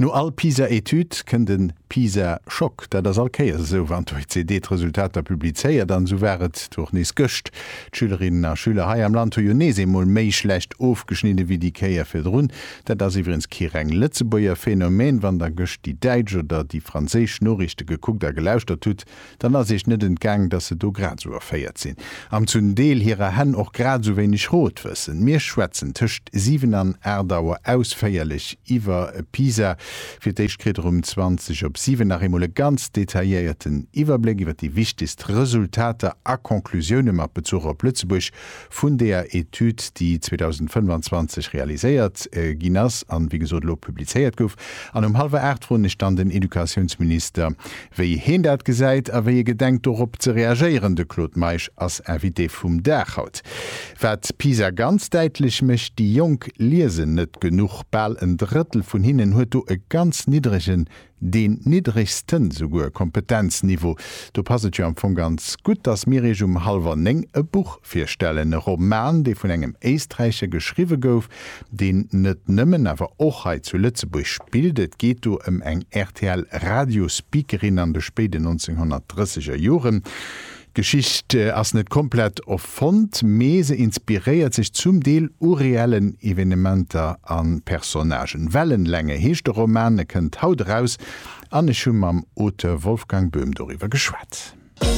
No all PISA-Etüd kënnt e PISA-Schock. Dat ass all Kéiers esou, wann d'OECD d'Resultater publizéiert. An esou war et och nees gëscht. D'Schülerinnen a Schüler hei am Land hu jo nees eemol méi schlecht ofgeschnidde wéi déi Kéier virdrun. Dat ass iwwregens kee reng Lëtzebuerger Phänomen. Wann der gëscht déi däitsch oder déi franséisch Noriichte gekuckt a gelauschtert hutt, Dann ass iech net entgaang, dass se do grad esou erféiert sinn an zum Deel hirer Hänn och grad esou wéineg Rot wëssen. Mir schwätzen tëscht 7 an 8 Auer ausféierlech iwwer PISA. Fir d'éischt kritt der um 20 op 7 nach eemol e ganz detailléierten Iwwerbléck iwwer déi wichtegst Resultater a Conclusioune mat Bezuch op Lëtzebuerg vun deeër Etüd, déi 2025 realiséiert ginn ass an, wéi gesot, elo publizéiert gouf. An um hallwer 8 froen ech dann den Educatiounsminister, wéi heen dat gesäit a wéi e gedenkt dorop ze reagéieren. De Claude Meisch ass Invité vum Dag haut. Wat PISA ganz däitlech mécht, déi Jonk liesen net genuch. Bal en Drëttel vun hinnen huet do e ganz niddregen Deen niddregsten souguer Kompetenzniveau. Do passt et jo am Fong ganz gutt, dass mir iech um hallwer 9 e Buch virstellen. E Roman, dee vun engem Éisträicher geschriwwe gouf, deen net nëmmen, awer och hei zu Lëtzebuerg spillt. Et geet do ëm eng RTL-Radiospeakerin an de spéiden 1930er Joren. D'Geschicht ass net komplett erfonnt, mee se inspiréiert sech zum Deel u reellen Evenementer a Personnagen. Wellenlänge heescht de Roman, e kënnt haut eraus an ech hu mam Auteur Wolfgang Böhm doriwwer geschwat.